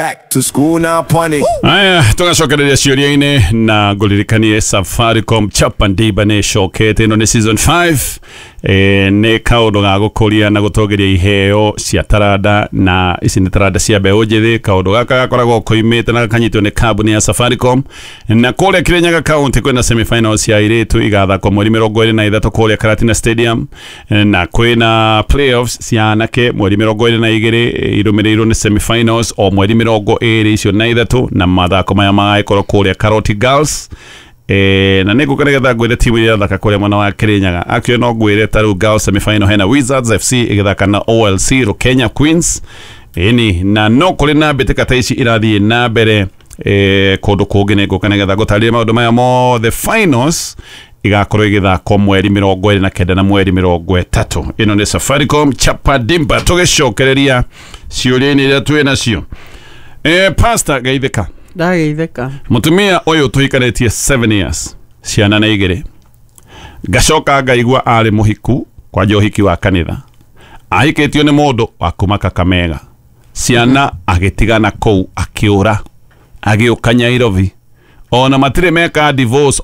Back to school now, punny. Aya, tugacokereria ciũria-inĩ na ngũririkanie Safaricom Chapa Ndimba nĩ ĩcokete. Ĩno nĩ season 5. Nĩ kaũndũ ga gũkũria na gũtongoria iheo cia taranda, na ici nĩ taranda cia mbeũ njĩthĩ. Kaũndũ gaka gakoragwo koimĩte na gakanyitwo nĩ kambuni ya Safaricom. Na kũrĩa Kirinyaga County kwĩna semifinals cia airĩtu igathakwo mweri 23 kũrĩa Karatina Stadium, na kwĩna playoffs cia anake mweri 22, irũmĩrĩirwo nĩ semifinals o mweri 23, na mathako maya magagĩkorwo kũrĩa Karoti Girls. Na nĩ ngũka nĩgetha ngwĩre timu iria irathaka kũrĩa mwena wa Kirinyaga. Akio no ngwĩre ta rĩu girls semifinal hena Wizards FC ĩgĩthaka na OLC Rukenya Queens. Ĩni na no kũrĩ na mbĩtĩka ta ici irathiĩ na mbere kũndũ kũngĩ. Nĩ ngũka nĩgetha ngũtarĩrie maũndũ maya mothe. Finals igakorwo igĩthakwo mweri 29 na mweri 30. Ĩno nĩ Safaricom Chapa Dimba. Tũgĩcokereria ciũria-inĩ iria twĩ nacio, Pastor geithĩka. Ndageithĩka. Mutumia ũyũ tũhikanĩtie 7 years, ciana na igĩrĩ. Ngacoka ngaigua arĩ mũhiku, kwanja ũhiki wa kanitha. Ahikĩtio nĩ mũndũ wa kuma Kakamega. Ciana agĩtigana kũu, akĩũra, agĩũka Nyairobi. Ona matirĩ meka divorce.